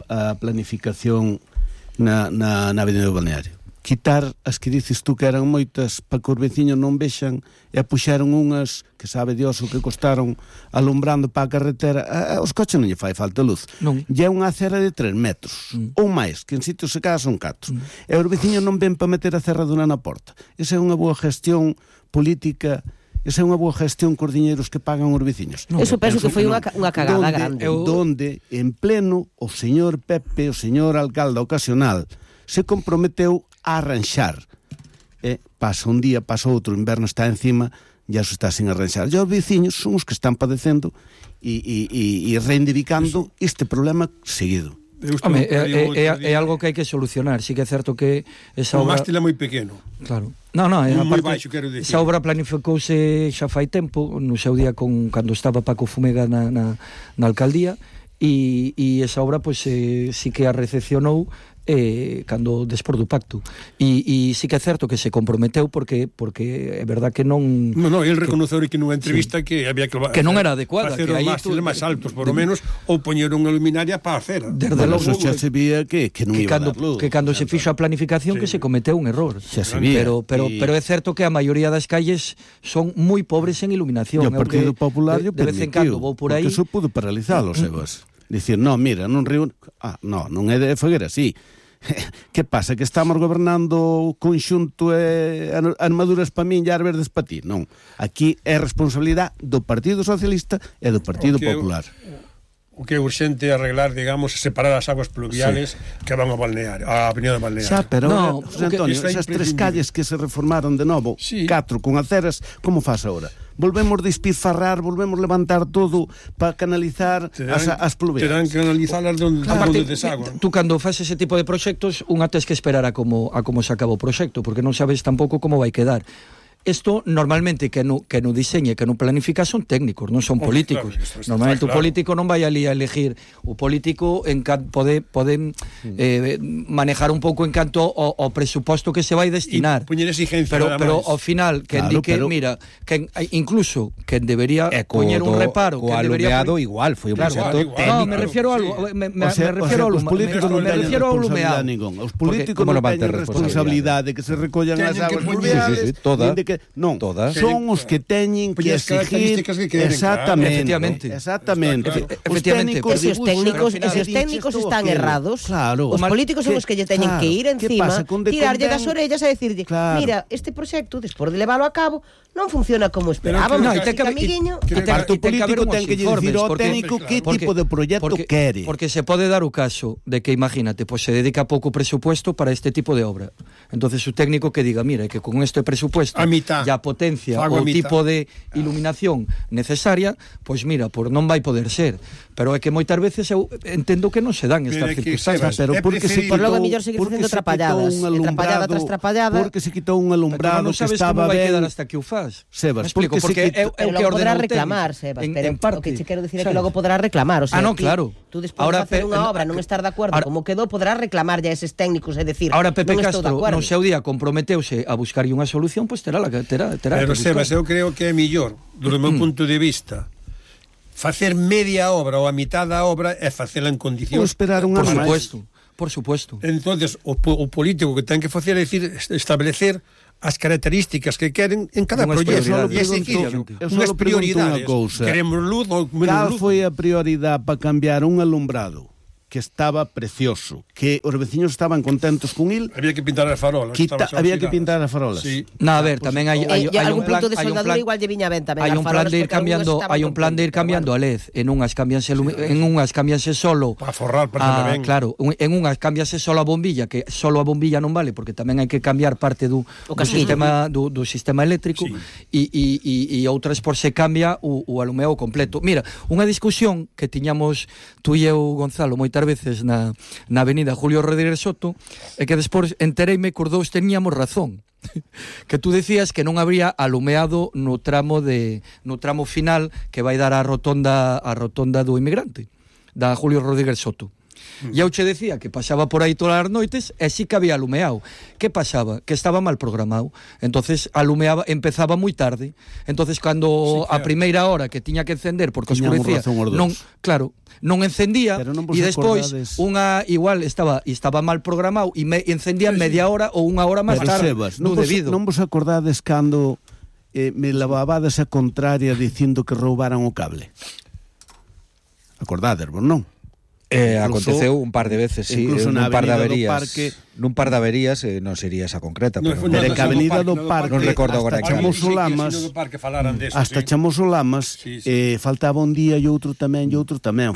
a planificación na avenida do Balneario? Quitar as que dices tú que eran moitas para que os veciños non vexan, e puxeron unhas que sabe Dios o que costaron alumbrando para a carretera. Os coches non lle fai falta luz. E é unha acera de 3 metros ou máis, que en sitios se cada son 4, e os veciños non ven para meter a cerradura na porta. Esa é unha boa gestión política. Esa é unha boa gestión cos diñeiros que pagan os veciños. Eso penso que foi unha cagada grande. Donde en pleno o señor Pepe, o señor alcalde ocasional, se comprometeu a arranxar. Pasa un día, pasa outro, o inverno está encima, ya se está sin arranxar. E os veciños son os que están padecendo e reivindicando este problema seguido. Home, é algo que hai que solucionar. Sí que é certo que esa obra... O mástil é moi pequeno. Claro. Non, moi baixo, quero dicir. Esa obra planificouse xa fai tempo, no seu día cando estaba Paco Fumega na alcaldía, e esa obra pois sí que a recepcionou cando despois do pacto, e sí que é certo que se comprometeu, porque é verdad que non... Non, el reconoceu que nunha entrevista que había que non era adecuada, facer os mástiles máis altos, por lo menos, ou poñer unha luminaria para a acera. Desde logo xa se vía que non iba a dar luz. Que cando se fixo a planificación que se cometeu un error. Xa se vía. Pero é certo que a maioría das calles son moi pobres en iluminación. E o Partido Popular de vez en cando vou por aí, porque eso pudo paralizalo, sebas. Dicir, mira, non río... non é de foguera, sí. Que pasa? Que estamos gobernando conxunto e armaduras para min e verdes para ti? Non. Aquí é responsabilidade do Partido Socialista e do Partido Popular. O que é urxente arreglar, digamos, separar as aguas pluviales que van ao balneario, a avenida do balneario. Xa, pero, José Antonio, esas 3 calles que se reformaron de novo, 4 con aceras, como faz agora? Volvemos despilfarrar, volvemos levantar todo para canalizar as pluviales. Terán que analizalas onde desagua. Tú cando faz ese tipo de proxectos, unha tes que esperar a como se acaba o proxecto, porque non sabes tampouco como vai quedar. Isto normalmente que no diseñe, que no planifica son técnicos, non son políticos. Claro, normalmente o político non vai ali a elegir. O político pode manejar un pouco en canto ao presuposto que se vai destinar. Poñer exigencia, pero ao final que indique, mira, que incluso que debería poñer un reparo, que debería igual, foi un proxecto técnico. No, me refiero ao os políticos non teñen responsabilidade ningún. Os políticos non teñen responsabilidade que se recollan as aguas pluviales. Non, son os que teñen que exigir exactamente. Esos técnicos están errados. Os políticos son os que lle teñen que ir encima, tirarlle das orellas e decirlle, mira, este proxecto, despois de leválo a cabo, non funciona como esperábamos. O político ten que dicir ao técnico que tipo de proxecto quere. Porque se pode dar o caso de que, imagínate, se dedica pouco presupuesto para este tipo de obra. Entonces o técnico que diga, mira, que con este presupuesto mitad. e a potencia Fago o a mitad. tipo de iluminación necesaria, pois mira, por non vai poder ser. Pero é que moitas veces eu entendo que non se dan estas Mira que, circunstancias. Sebas, Pero é porque se preferible- Por logo é quitou- mellor seguir porque facendo se quitou trapalladas, un e trapallada alumbrado, tras trapallada. porque se quitou un alumbrado non que sabes estaba como vai ben. quedar hasta que o faz. Sebas, Me explico, porque se porque é quita- o Pero que logo podrá ordena o reclamar, técnico, Sebas, en pero parte. o que che quero dicir é que Sabes? logo podrá reclamar, o sea, non, claro. Tú despois Ahora, de facer unha Pe- obra, non estar de acordo ahora- como quedou, podrás reclamar a eses técnicos e decir, Ahora Pepe non estou de Castro acordo. no seu día comprometeuse a buscarlle unha solución, pois terá Pero, que Sebas, buscar. eu creo que é millor, do meu punto de vista, facer media obra ou a mitad da obra é facela en Ou condicións. esperar un Por ano máis. supuesto. Entonces, o político que ten que facer é decir, establecer as características que queren en cada Unhas proxecto. prioridades. E seguir Eu unhas só pregunto prioridades. unha cousa. Queremos luz ou menos Cal luz. foi a prioridade para cambiar un alumbrado que estaba precioso, que os veciños estaban contentos con il? Había que pintar as farolas. Había que pintar as farolas. Sí. No, a ver, tamén hai algún un plan, punto de hai un soldadura plan, igual lle viña ben tamén hai as un plan farolas, de ir porque algúns cambiando, estaban hai un plan de ir contentos, cambiando a LED, en unhas cambianse solo Para forrar, para ben. claro, en unhas cambiase solo a bombilla, que solo a bombilla non vale porque tamén hai que cambiar parte do sistema eléctrico e outras por se cambia o alumeado completo. Mira, unha discusión que tiñamos tú e eu, Gonzalo, moitas veces na avenida Julio Rodríguez Soto, é que despois entereime que os dous teníamos razón. Que tú decías que non habría alumeado no tramo final que vai dar a rotonda do Inmigrante, da Julio Rodríguez Soto. E eu che decía que pasaba por aí todas as noites e sí que había alumeado. Que pasaba? Que estaba mal programado. Entonces empezaba moi tarde. Entonces cando a primeira hora que tiña que encender porque oscurecía, non encendía e despois unha igual estaba mal programado e encendía media hora ou unha hora máis tarde. Sebas, non vos acordades cando me lavabades a contraria dicindo que roubaran o cable? Acordades, vos non? Aconteceu un par de veces, sí, incluso nun par de averías, non sería esa concreta, pero en que Avenida do Parque, non recordo agora hasta Chamoso Lamas, Chamoso Lamas, faltaba un día e outro tamén,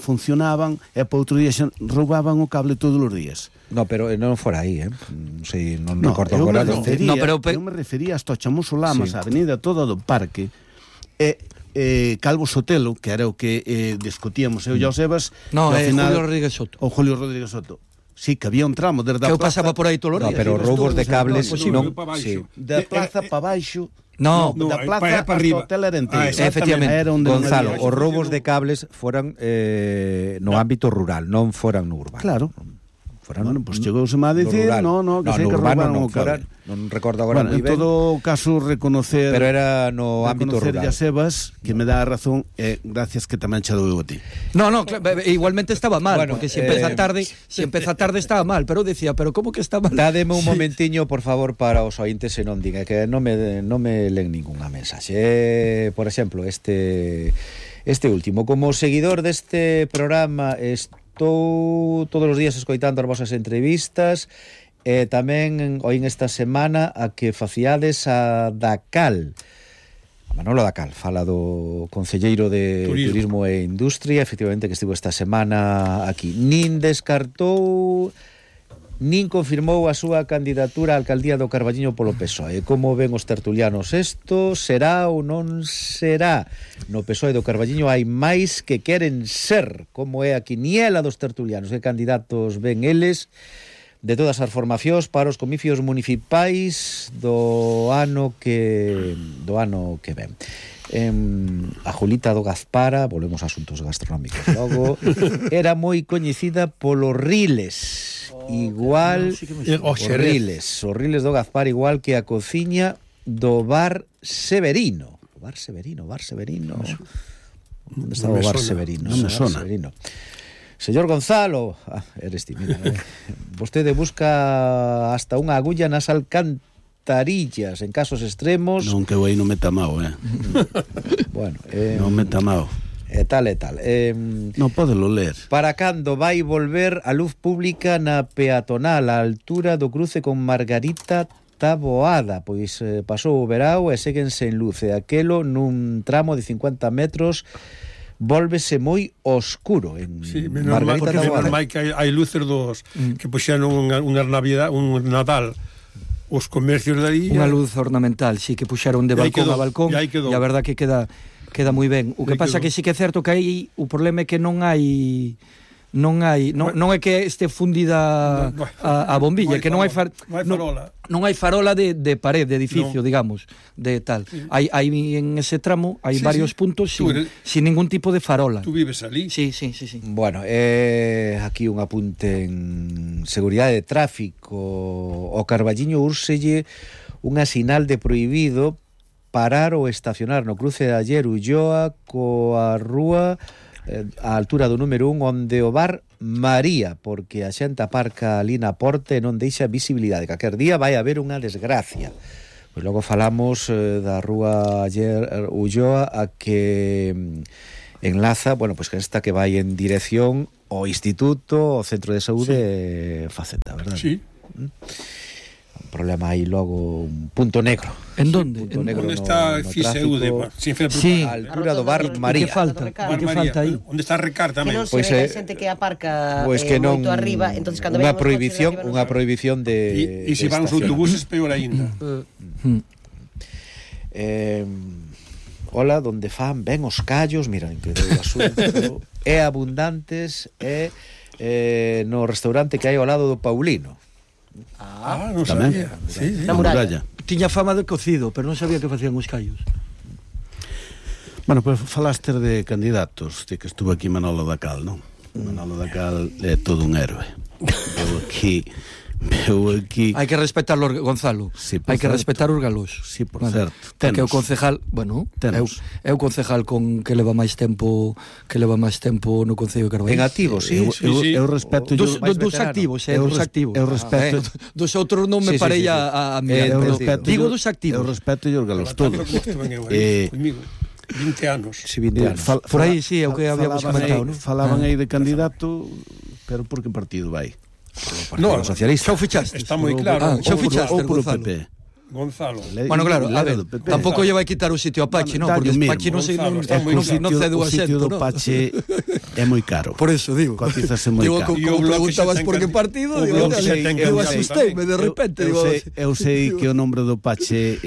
funcionaban e para outro día xa roubaban o cable todos os días. No, pero non fora aí, non sei, non recordo eu agora. Eu me refería hasta Chamoso Lamas, a Avenida toda do Parque, Calvo Sotelo, que era o que discutíamos eu e o Sebas, no, final, Julio Rodríguez Soto. O Julio Rodríguez Soto. Sí, que había un tramo desde a plaza. Que eu pasaba por aí todos os días. No, pero roubos de cables non, da plaza para baixo. No, da plaza para arriba. Hotel Arenteiro. Efectivamente. Gonzalo, os roubos de cables foran no ámbito rural, non foran no urbano. Claro. Bueno, pues chegouse a dicir, que sei que roubaron o cable. Non recordo agora moi ben. En todo caso, reconocer... Pero era no ámbito rural. Reconocer a Sebas, que me dá a razón, gracias que tamén che dou a ti. No, igualmente estaba mal, porque se empeza tarde estaba mal, pero decía, pero como que está mal? Dádeme un momentiño, por favor, para os ointes e non diga que non me len ningunha mensaxe. Por exemplo, este último, como seguidor deste programa, estou todos os días escoitando as vosas entrevistas e tamén oín esta semana a que faciades a Dacal. A Manolo Dacal fala do concelleiro de Turismo e Industria, efectivamente, que estivo esta semana aquí. Nin descartou nin confirmou a súa candidatura á alcaldía do Carballiño polo PSOE. Como ven os tertulianos isto? Será ou non será? No PSOE do Carballiño hai máis que queren ser, como é a quiniela dos tertulianos. Que candidatos ven eles de todas as formacións para os comicios municipais do ano que ven. A Julita do Gazpara, volvemos a asuntos gastronómicos logo, era moi coñecida polos riles, igual os riles do Gazpara, igual que a cociña do Bar Severino. Bar Severino. Onde está o Bar Severino? Non me sona. Señor Gonzalo, eres ti, mira, vostede busca hasta unha agulla nas alcantarillas en casos extremos. Non, que aí non me tamao, Bueno, non me tamao. E tal. Non podelo ler. Para cando vai volver a luz pública na peatonal a altura do cruce con Margarita Taboada? Pois pasou o verao e seguen sen luz, e aquelo nun tramo de 50 metros volvese moi oscuro en Margarita Taboada. Menos mal que hai luces dos que puxeron un Nadal os comercios de ali... Unha luz ornamental, sí, que puxeron de balcón a balcón, e a verdad que queda moi ben. O que pasa que sí que é certo que aí o problema é que non é que este fundida a bombilla, que non hai farola. Non hai farola de pared, de edificio, digamos, de tal. Hai en ese tramo hai varios puntos sin ningún tipo de farola. Tú vives ali? Sí. Bueno, aquí un apunte en seguridade de tráfico. O Carballiño úrselle unha sinal de prohibido parar ou estacionar no cruce de Aller Ulloa coa rúa a altura do número 1 onde o bar María, porque a xente aparca ali na porta e non deixa visibilidade. Calquer día vai haber unha desgracia. Pois logo falamos da rúa Aller Ulloa a que enlaza, bueno, pois que esta que vai en dirección ao Instituto, ao Centro de Saúde Facenda, verdad? Sí. Un problema aí logo, un punto negro. En donde? Onde está FISEUDE? Sí, a altura do bar María. Que falta aí? Onde está Recar tamén? Que non se ve a xente que aparca moito arriba, entonces cando unha prohibición de E se van os autobuses peor aínda. Hola, donde fan ben os callos, mira, increíble o asunto, é abundantes no restaurante que hai ao lado do Paulino. Non sabía. Sí. Na muralla. Tiña fama de cocido, pero non sabía que facían os callos. Bueno, pues falaste de candidatos, de que estuvo aquí Manolo Dacal, non? Manolo Dacal é todo un héroe. Veo aquí... Hai que respetarlo, Gonzalo. Sí, hai que respetar os galos. Sí, por certo. Porque o concejal, bueno, é o concejal con que leva máis tempo no Concello de Carballo. En activo, sí. Eu respeto dos activos, dos activos. Eu respeto dos outros non me parei a mirar. Digo dos activos. Eu respeto os galos todos. 20 anos. Sí, 20 anos. Por aí, sí, é o que habíamos comentado, ¿no? Falaban aí de candidato, pero por que partido vai? No, Socialista. Xa o fichaste. Está moi claro. Xa o fichaste, ou por o Gonzalo. PP. Gonzalo. Bueno, claro, a ver, tampouco lle vai quitar o sitio a Pachi, non? Porque Pachi non cede o O sitio asento, do Pachi é moi caro. Por eso, digo. Cotizase moi caro. Digo, como preguntabas por que partido, digo, eu asustei-me de repente. Eu sei que o nombre do Pachi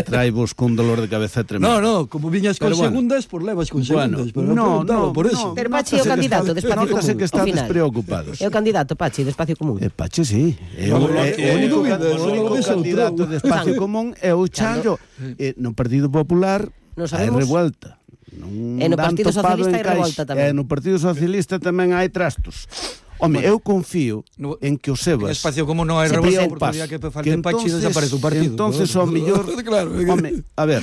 trae vos con dolor de cabeza tremendo. No, como viñas con segundas, por levas con segundas. No, por eso. Pero Pachi é o candidato de Espacio Común. Notase que están despreocupados. É o candidato, Pachi, de Espacio Común. Pachi, sí. O único candidato de Espacio Común é o Chanjo. No Partido Popular hai revuelta. E no Partido Socialista hai revolta tamén. E no Partido Socialista tamén hai trastos. Home, eu confío en que o Sebas... En Espacio Común non hai revolta porque o día que falte Pachi desaparece o partido. Entonces, ao mellor... Home, a ver,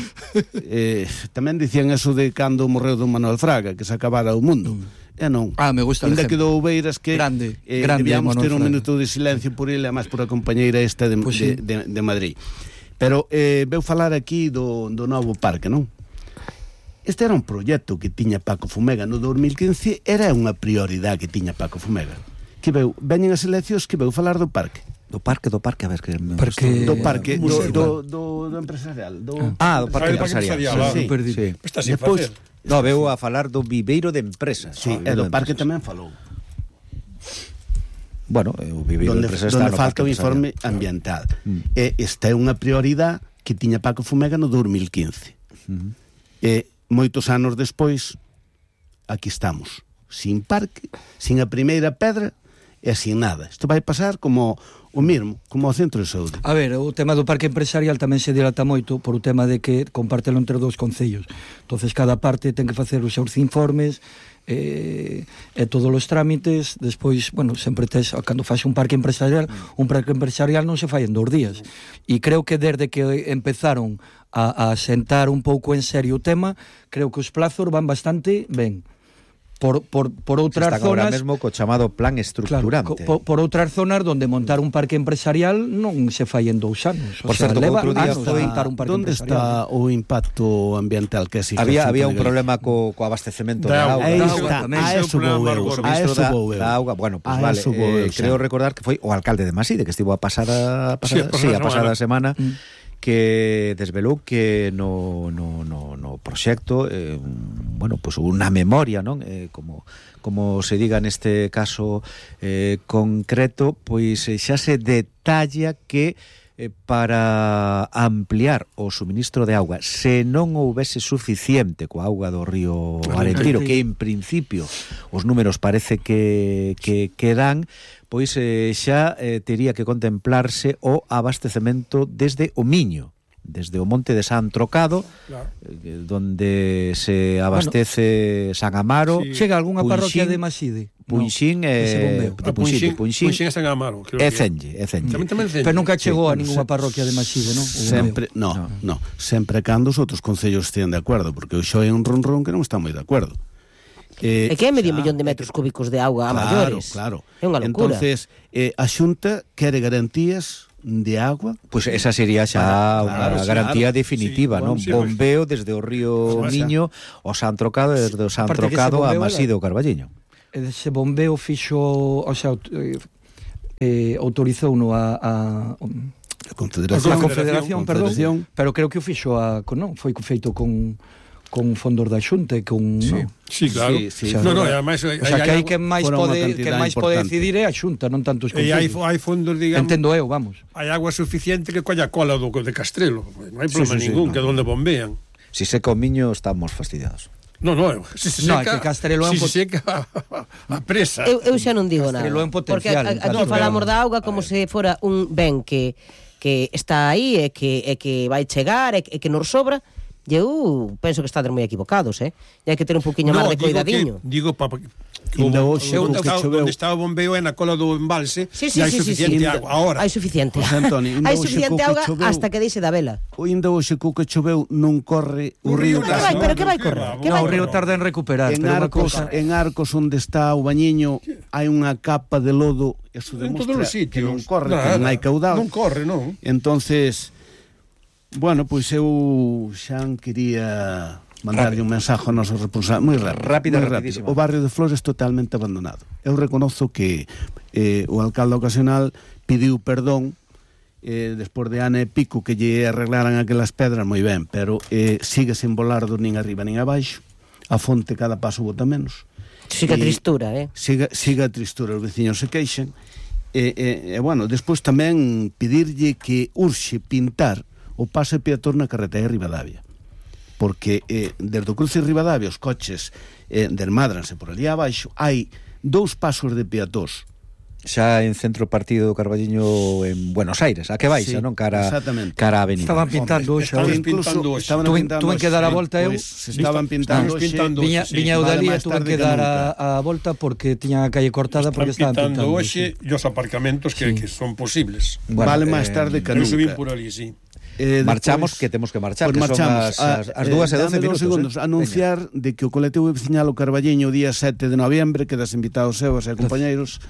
tamén dicían eso de cando morreu don Manuel Fraga, que se acabara o mundo. Non. Me gusta el ejemplo. Ainda quedou Beiras que grande, debíamos ter un minuto de silencio por ele, máis por a compañeira esta de Madrid. Pero veu falar aquí do novo parque, non? Este era un proxecto que tiña Paco Fumega no 2015, era unha prioridade que tiña Paco Fumega. Que veñen as eleccións que veu falar do parque. Do parque, a ver que... Do parque, do empresarial. Do parque empresarial. Sí. Está sin facer. No, veo a falar do viveiro de empresas. Sí, e do parque tamén falou. Bueno, o viveiro de empresas está no falta o informe ambiental. Esta é unha prioridade que tiña Paco Fumega no 2015. Moitos anos despois, aquí estamos. Sin parque, sin a primeira pedra e sin nada. Isto vai pasar como o mesmo, como o centro de saúde. A ver, o tema do parque empresarial tamén se dilata moito por o tema de que compártelo entre dous concellos. Entonces cada parte ten que facer os seus informes e todos os trámites. Despois, bueno, sempre tes, cando faz un parque empresarial non se fai en 2 días. E creo que desde que empezaron a sentar un pouco en serio o tema, creo que os plazos van bastante ben. Por outras zonas agora mesmo co chamado plan estructurante. Claro, por outras zonas donde montar un parque empresarial non se fai en 2 anos. Por certo, outro día foi montar un parque onde empresarial. está o impacto ambiental que existe? Había un problema co abastecemento de auga. A eso vou eu. Bueno, pues vale. Creo recordar que foi o alcalde de Maside que estivo a pasada semana que desvelou que no proxecto bueno, pues unha memoria, non? Como se diga neste caso concreto, pois xa se detalla que para ampliar o suministro de auga, se non houvese suficiente coa auga do río Arentiro, que en principio os números parece que dan, pois xa tería que contemplarse o abastecemento desde o Miño, desde o monte de San Trocado, donde se abastece San Amaro, chega algunha parroquia de Maside. Punxín e Punxín e San Amaro, e Cenlle. Pero nunca chegou a ninguna parroquia de Maside, non? Sempre, no, sempre cando os outros concellos estian de acordo, porque o xo é un ronrón que non está moi de acordo. É que é medio millón de metros cúbicos de auga a maiores. Claro. É unha locura. Entonces, a Xunta quere garantías de agua. Pois esa sería xa unha garantía definitiva, non? Bombeo desde o río Miño ao San Trocado, desde o San Trocado a Maside o Carballiño. Ese bombeo fixo, o sea, autorizou a Confederación, perdón, pero creo que o fixo non, foi feito con fondos da Xunta e con Sí, claro. Ademais, o sea, que hai que máis pode decidir é a Xunta, non tanto os concellos. E hai fondos, digamos, entendo eu, vamos. Hai agua suficiente que colla cola de Castrelo, non hai problema ningún, que onde bombean. Si seca o Miño estamos fastidiados. No, se seca, que Castrelo é seca a presa. Eu xa non digo nada. Castrelo é un Porque potencial. aquí falamos da auga como se fora un ben que está aí e que vai chegar e que nos sobra. E eu penso que estades moi equivocados, E hai que ter un poquinho máis de cuidadiño. Digo onde está o bombeo é na cola do embalse e hai suficiente agua. Ahora hai suficiente auga hasta que deixe da vela. Ainda hoxe co que choveu non corre o río. Pero que vai correr? O río tarda en recuperar. En Arcos onde está o Bañiño hai unha capa de lodo. Eso demostra que non corre, que non hai caudal. Non corre, non. Entonces, bueno, pois eu xa quería mandarlle un mensaje ao noso responsable moi rápido. O barrio de Flores totalmente abandonado. Eu reconozo que o alcalde ocasional pediu perdón despois de ano e pico que lle arreglaran aquelas pedras, moi ben, pero sigue sen volardo nin arriba nin abaixo. A fonte cada paso bota menos. Siga a tristura, Siga a tristura, os veciños se queixen. Bueno, despois tamén pedirlle que urxe pintar o pase peatón na carretera de Ribadavia, porque desde o cruce de Ribadavia os coches desmadranse por ali abaixo. Hai 2 pasos de peatóns xa en centro partido do Carballiño en Buenos Aires, a que vais, non? Cara a avenida. Estaban pintando hoxe. Tuven que dar a volta eu. Estaban pintando hoxe. Viña eu dali e tuven que dar a volta porque tiña a calle cortada porque estaban pintando hoxe e os aparcamentos que son posibles. Vale máis tarde que nunca. Eu subín por ali, sí. Marchamos, que temos que marchar, que son as 2:12 minutos. Anunciar de que o colectivo veciñal o Carballiño o día 7 de noviembre, quedas invitados seus e compañeiros,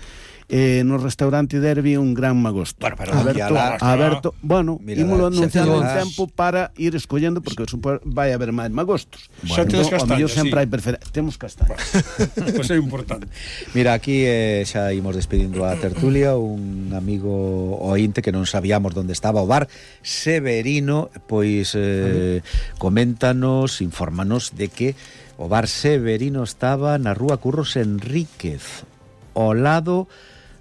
no restaurante Derby un gran magosto. Bueno, pero aberto, bueno, ímolo anunciando en tempo para ir escollendo, porque vai haber máis magostos. Xa tedes castañas, sempre hai temos castañas. Pois é importante. Mira, aquí xa imos despedindo a tertulia. Un amigo ointe que non sabíamos onde estaba o bar Severino, pois coméntanos, infórmanos de que o bar Severino estaba na rúa Curros Enríquez, ao lado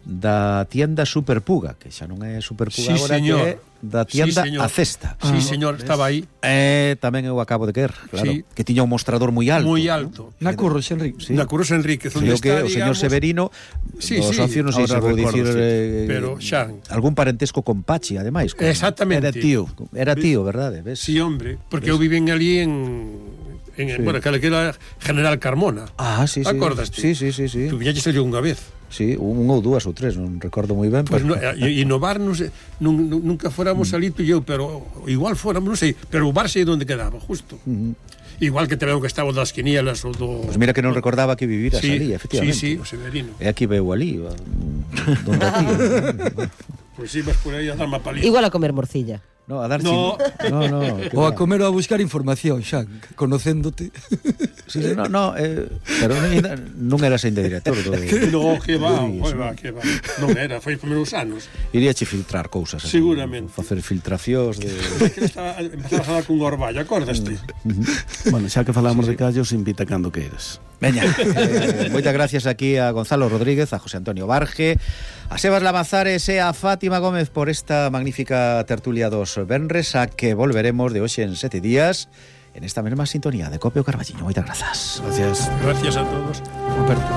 da tienda Superpuga, que xa non é Superpuga agora, que é da tienda A Cesta. Sí, señor, estaba aí. Tamén eu acabo de querer, claro, que tiña un mostrador moi alto. Moi alto. Na Curros Enríquez. Na Curros Enríquez, onde está, o señor Severino, o socio, non sei se vou dicir, pero xa algún parentesco con Pachi, ademais. Exactamente. Era tío, verdade? ¿Ves? Sí, hombre, porque eu viven ali bueno, que era General Carmona. Sí. Acordaste? Sí. Tu viñaches ali unha vez. Sí, un ou dúas ou tres, non recordo moi ben. Pues e no bar, nunca fóramos ali tú e eu, pero igual fóramos, non sei, pero o bar sei onde quedaba, justo. Igual que te veo que estaba das quinielas ou do... Pues mira que non recordaba que viviras ali, efectivamente. Sí, o Severino. E aquí veo ali, donde aquí. Pois ibas por aí a dar má palita. Igual a comer morcilla. No, a dar No. O a comer ou a buscar información, xa, conocéndote. Sí, no, pero non eras ainda director do... No, que va. Non era, foi os primeiros anos. Iríache filtrar cousas. Seguramente. Facer filtracións de... Empezaba a falar con Orballo, acordaste? Bueno, xa que falamos de callos, invita cando queiras. Veña, moitas gracias aquí a Gonzalo Rodríguez, a José Antonio Barge, a Sebas Lamazares e a Fátima Gómez por esta magnífica tertulia dos venres, a que volveremos de hoxe en 7 días en esta mesma sintonía de Copio Carballiño. Moitas grazas. Gracias. Gracias a todos. Roberto.